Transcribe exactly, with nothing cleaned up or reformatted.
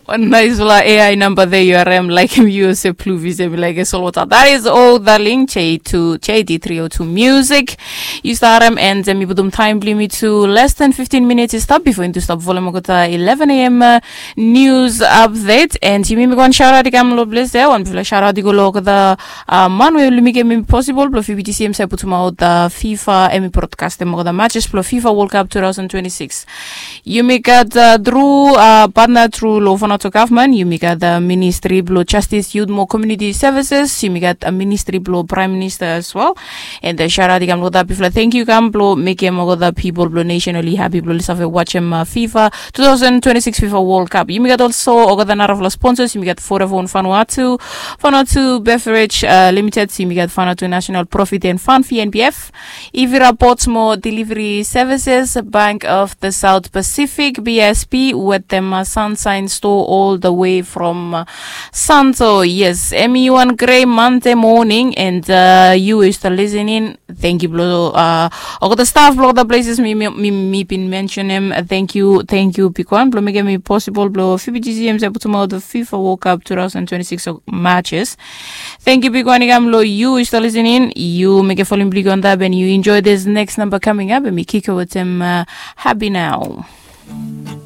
Wan naispela A I namba de yu harim, laikim yu olsem pluvis em i laik solwota. That is all, darling. J two, J D three oh two Music. Yu stap harim, and em i putum taim bilong yumi tu less than fifteen minutes i stap before into stap volume olgeta eleven a.m. Uh, news update. And yumi mi go wan shout out i kam lo ples ya, wan bifala shout out i go lo olgeta uh, man we oli mekim em possible blo F B T C em save putum out uh, FIFA em i broadcastim olgeta matches blo FIFA World Cup two thousand twenty-six. Yumi gat uh, tru uh, partner tru lo Vanuatu government. Yumi gat uh, Ministry blo Justice, Youth mo Community Services. Yumi gat uh, Ministry blo Prime Minister as well. And uh, shout out i kam lo that bifala. Thank you kam blo mekim olgeta people blo nation oli happy blo oli save watchim uh, FIFA two thousand twenty-six FIFA World Cup. Yumi gat also olgeta narafala sponsors. Yumi gat Vodafone Vanuatu, Vanuatu Beverage uh, Limited. Yumi gat Vanuatu National Profit and Fund, V N P F. Ivira Ports mo Delivery Services, Bank of the South Pacific, B S P, wetem uh, Sunshine Store all the way from uh, Santo. Yes, em i wan gre Monday morning, and uh, you is the listening. Thank you blo uh, olgeta staff blo olgeta places mi, mi, mi, mi bin mentionim. Thank you, thank you big one blo mekim em possible blo F B T C em save putum out the FIFA World Cup two thousand twenty-six matches. Thank you big one i kam lo you is the listening. You make a following big on that and you enjoy this next number coming up and mi kick over to uh, Happy Now.